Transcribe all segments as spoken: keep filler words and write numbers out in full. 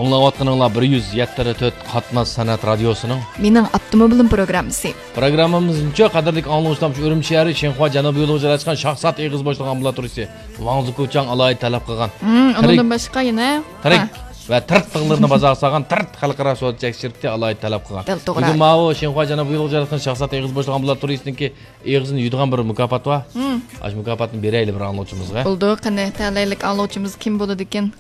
ئاڭلاۋاتقىنىڭلار بىر يۈز يەتتە تۆت قاتناش سەنئەت رادىيوسىنىڭ مېنىڭ ئاپتوموبىلىم پروگراممىسى. پروگراممىمىزنىڭچۇ، قەدىرلىك ئاڭلىغۇچىلار، شۇ ئۈرۈمچى شەھىرى شىنخۇا جەنۇبىي يولىغا جايلاشقان شاھزات ئېغىزى بوشلۇق ئامبۇلاتورىيىسى ۋاڭ زۇكۇچاڭ ئالاھىدە تەلەپ قىلغان. ھىم، تىرىك ئۇنىڭدىن باشقا يەنە؟ تىرىك ھە. ۋە تىرت تىغلىرىنى بازارغا سالغان تىرت خەلقئارا سودا چەكلىك شىركىتى ئالاھىدە تەلەپ قىلغان. دەل توغرا. بۈگۈن ماۋۇ شىنخۇا جەنۇبىي يولىغا جايلاشقان شاھزات ئېغىزى بوشلۇق ئامبۇلاتورىيىسىنىڭكى ئېغىزىنى يۇيىدىغان بىر مۇكاپات بار. ھىم. ئاشۇ مۇكاپاتنى بېرەيلى بىر ئاڭلىغۇچىمىزغا. بولىدۇ، قېنى، تەلەيلىك ئاڭلىغۇچىمىز كىم بولىدىكىن؟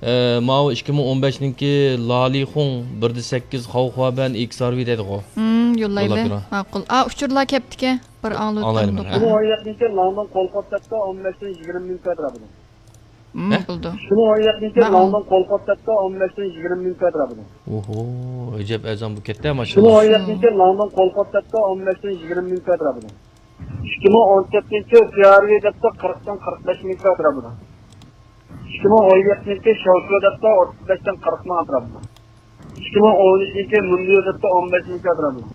ئە، ماۋۇ ئىككى مىڭ ئون بەشنىڭكى لالىخۇڭ بىردە سەككىز خاۋخۇابەن ئېكس ئار ۋى دەيدىغۇ. ھىم، يوللايلى. يوللاپ بېرىڭ. ماقۇل. ئا، ئۇچۇرلار كەپتىكەن. بىر ئاڭلىۋېتىڭ. ئاڭلايلى مانا. ئىككى مىڭ ئون يەتتىنچى يىل لاڭدۇڭ قولخوت دەپتۇ، ئون بەشتىن يىگىرمە مىڭ كۆتۈرەپتۇ. ھىم، ھە؟ بولىدۇ. ئىككى مىڭ ئون يەتتىنچى يىل ماقۇل. لاڭدۇڭ قولخوت دەپتۇ، ئون بەشتىن يىگىرمە مىڭ كۆتۈرەپتۇ. ئوھو، ئەجەب ئەرزان بۇ كەتتى، ماشىنا. ئىككى مىڭ ئون يەتتىنچى يىل لاڭدۇڭ قولخوت دەپتۇ، ئون بەشتىن يىگىرمە مىڭ كۆتۈرەپتۇ. ئىككى مىڭ ئون تۆتىنچى يىل سى ئار ۋى دەپتۇ، قىرىقتىن قىرىق بەش مىڭ كۆتۈرەپتۇ. ئىككى مىڭ ئون يەتتىنچى يىل شاۋشۇ دەپتۇ، ئوتتۇز بەشتىن قىرىق مىڭ ئەتراپىدا. ئىككى مىڭ ئون ئۈچىنچى يىل مۇندىيو دەپتۇ، ئون بەش مىڭ ئەتراپىدا.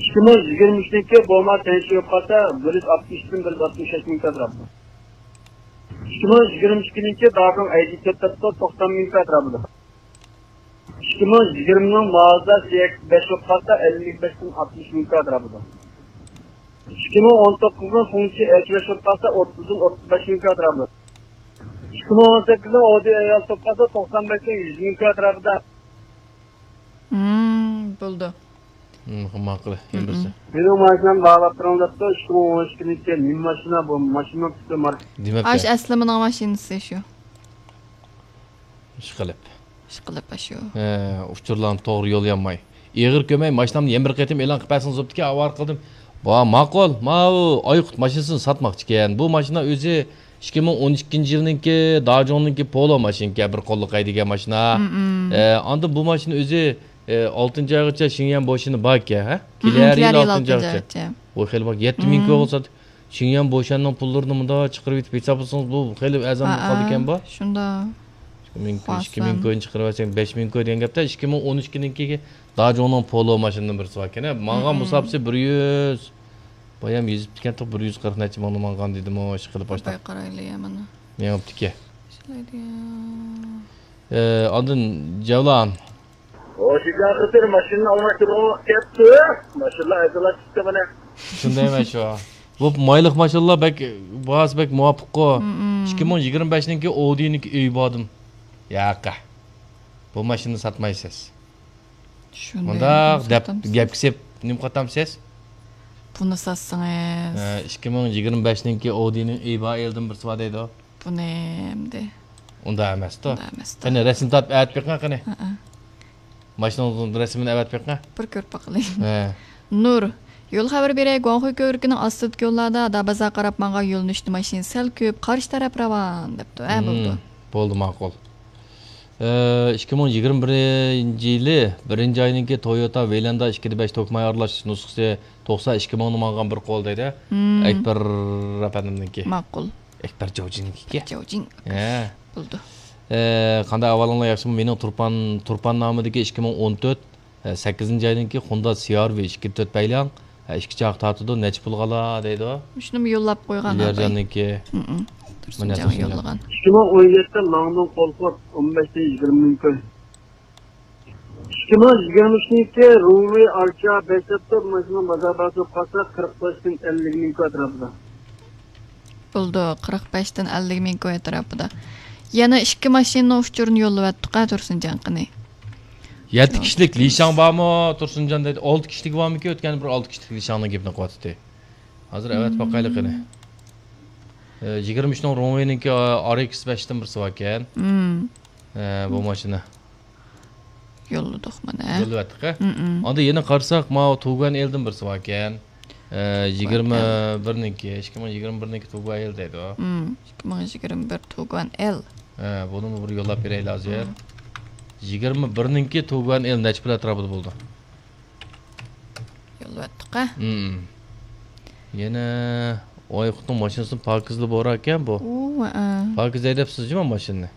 ئىككى مىڭ يىگىرمە ئۈچىنچى يىل بوما تەڭشى يوقالسا، بىر يۈز ئاتمىشتىن بىر يۈز ئاتمىش بەش مىڭ ئەتراپىدا. ئىككى مىڭ يىگىرمە ئىككىنچى يىل داجۇڭ ئەيدىچى دەپتۇ، توقسان مىڭ ئەتراپىدا. ئىككى مىڭ يىگىرمىنىڭ مازدا سى ئېكس بەش بولۇپ قالسا، ئەللىك بەشتىن ئاتمىش مىڭ ئەتراپىدا. ئىككى مىڭ ئون توققۇزنىڭ فۇڭچى ئېچ بەش بولۇپ قالسا، ئوتتۇزدىن ئوتتۇز بەش مىڭ ئەتراپىدا. ئىككى مىڭ ئون سەككىزنىڭ ئودى ئېيالىس بولۇپ قالسا، توقسان بەشتىن يۈز مىڭ ئەتراپىدا. ھىم، بولدى. ھىم، ماقۇل. يەنە بىرسى. مېنىڭ ماشىنامنى باھالاپ بېرىڭ دەپتۇ، ئىككى مىڭ ئون ئىككىنچى يىل نېمە ماشىنا بۇ؟ ماشىنىنىڭ تىپى ماركا. دېمەپتۇ. ئاش ئەسلىمىنىڭ ماشىنىسى شۇ. ئىشقىلىپ. ئىشقىلىپ ئاشۇ. ھە، ئۇچۇرلارنى توغرا يوللىيالماي. ئېغىر كۆرمەي، ماشىنامنى يەنە بىر قېتىم ئېلان قىلىپ بەرسىڭىز بوپتىكەن، ئاۋارە قىلدىم. ۋا، ماقۇل، ماۋۇ ئايقۇت ماشىنىسىنى ساتماقچىكەن. بۇ ماشىنا ئۆزى ئىككى مىڭ ئون ئىككىنچى يىلنىڭكى داجۇڭنىڭكى پولو ماشىنىكەن، بىر قوللۇق ھەيدىگەن ماشىنا. مم. ئە، ئاندىن بۇ ماشىنا ئۆزى، ئە، ئالتىنچى ئايغىچە شېڭيەن بوشىنى باركەن، ھە؟ مم، كېلەر يىل كېلەر يىل ئالتىنچى ئالتىنچى ئايغىچە. ئايغىچە. ۋوي، خېلى بار. يەتتە مىڭ كوي بولسا، شېڭيەن بوشەننىڭ پۇللىرىنى مۇنداق چىقىرىۋېتىپ ھېسابلىسىڭىز، بۇ خېلى ئەرزان بولۇپ قالىدىكەن بۇ. شۇنداق. ئىككى مىڭ، ئىككى مىڭ كوينى چىقىرىۋەتسەڭ، بەش مىڭ كوي دېگەن گەپتە، ئىككى مىڭ ئون ئىككىنىڭكى داجۇڭنىڭ پولو ماشىنىدىن بىرسى باركەن. ماڭغان مۇساپىسى بىر يۈز، بايام يېزىپتىكەن، بىر يۈز قىرىق نەچچە مىڭنى ماڭغان دېدىمۇ، ئىشقىلىپ باشلاپ. باي قارايلى يا مانا. مېڭىپتىكەن. ئىشلەيدۇ يا. ئە، ئاندىن جەۋلان. ئۇ شىنجاڭ خىتىر ماشىنىنى ئالماشتۇرغان ۋاقىت كەپتۇ. ماشىنىلار ئەزىللەپ چىقتى مانا. شۇندايمەن شۇ. بۇ مايلىق ماشىنىلار بەك، باھاسى بەك مۇۋاپىققۇ. مم. ئىككى مىڭ يىگىرمە بەشنىڭكى ئودىنىڭكى ئۆيى باردىم. ياقى. بۇ ماشىنىنى ساتمايسىز. شۇنداق مۇنداق دەپ ساتامسىز؟ گەپكە سېلىپ نېمە قاتامسىز؟ بۇنى ساتسىڭىز. ھە، ئىككى مىڭ يىگىرمە بەشنىڭكى ئودىنىڭ ئۆيى بار ئېلدىن بىرسى بار دەيدۇ. بۇنى ئەمدى. ئۇنداق ئەمەستۇ. ئۇنداق ئەمەستۇ. قېنى، رەسىم تارتىپ ئەۋەتىپ بېقىڭ قېنى. ھەئە. ماشىنىڭىزنىڭ رەسىمىنى ئەۋەتىپ بېقىڭ. بىر كۆرۈپ باقىلى. ھە. نۇر، يول خەۋىرى بېرەي، گۇاڭخۇي كۆۋرۈكىنىڭ ئاستىدىكى يوللاردا دابازا قاراپ ماڭغان يۆنىلىشتە ماشىنا سەل كۆپ، قارشى تەرەپ راۋان، دەپتۇ. ھە، بولىدۇ. بولدى، ماقۇل. ئە، ئىككى مىڭ يىگىرمە بىرىنچى يىلى بىرىنچى ئاينىڭكى تويوتا ۋېيلاندا ئىككىدە بەش توكماي ئارىلاش نۇسخىسى توقسان ئىككى مىڭنى ماڭغان بىر قول دەيدۇ. مم. ئەكبەر ئەپەندىمنىڭكى. ماقۇل. ئەكبەر جاۋجىنىڭكى. جاۋجىن. ھە. بولدى. ئە، قانداق ئەھۋالىڭلار، ياخشىمۇ؟ مېنىڭ تۇرپان، تۇرپان نامىدىكى ئىككى مىڭ ئون تۆت، ئە، سەككىزىنچى ئاينىڭكى خوندا سى ئار ۋى ئىككى تۆت پەيلەڭ، ئە، ئىككى چاق تارتىدۇ، نەچچە پۇلغا ئالا دەيدۇ. شۇنىمۇ يوللاپ قويغان ئاباي. ئىليارجاننىڭكى. ھىم. تۇرسۇنجانغا يوللىغان. ئىككى مىڭ ئون يەتتە لاڭدۇڭ قولخوت، ئون بەشتىن يىگىرمە مىڭ كوي. ئىككى مىڭ يىگىرمە ئۈچىنچى يىلى رۇڭۋېي ئارچا بەش دەپتۇ، ماشىنا بازار باھاسى بولۇپ قالسا، قىرىق بەشتىن ئەللىك مىڭ كوي ئەتراپىدا. بولدى، قىرىق بەشتىن ئەللىك مىڭ كوي ئەتراپىدا. يەنە ئىككى ماشىنىنىڭ ئۇچۇرىنى يوللىۋەتتۇق ھە، تۇرسۇنجان قېنى. يەتتە كىشىلىك لىشاڭ بارمۇ، تۇرسۇنجان دەيدۇ. ئالتە كىشىلىك بارمىكىن؟ ئۆتكەندە بىر ئالتە كىشىلىك لىشاڭنىڭ گېپىنى قىلىۋاتاتتى. ھازىر ئەۋەتىپ باقايلى قېنى. ئە، يىگىرمە ئۈچنىڭ رۇڭۋېينىڭكى، ئا، ئار ئېكس بەشتىن بىرسى باركەن. ئە، بۇ ماشىنا. يوللىدۇق مانا. يوللىۋەتتۇق ھە. ئاندىن يەنە قارىساق، ماۋۇ تۇگۇەن ئېلدىن بىرسى باركەن. ئە، يىگىرمە بىرنىڭكى، ئىككى مىڭ يىگىرمە بىرنىڭكى تۇگۇەن ئېل دەيدۇ. ئىككى مىڭ يىگىرمە بىر تۇگۇەن ئېل. ئە، بۇنىمۇ بىر يوللاپ بېرەيلى ھازىر. يىگىرمە بىرنىڭكى تۇگۇەن ئېل نەچچە پۇل ئەتراپىدا بولىدۇ؟ يوللىۋەتتۇق ھە. يەنە ئايقۇتنىڭ ماشىنىسىنى پاكىزلا بورا ئىكەن بۇ. ئۇ، ھە. پاكىز ھەيدەپسىز جۇمۇ ماشىنىنى؟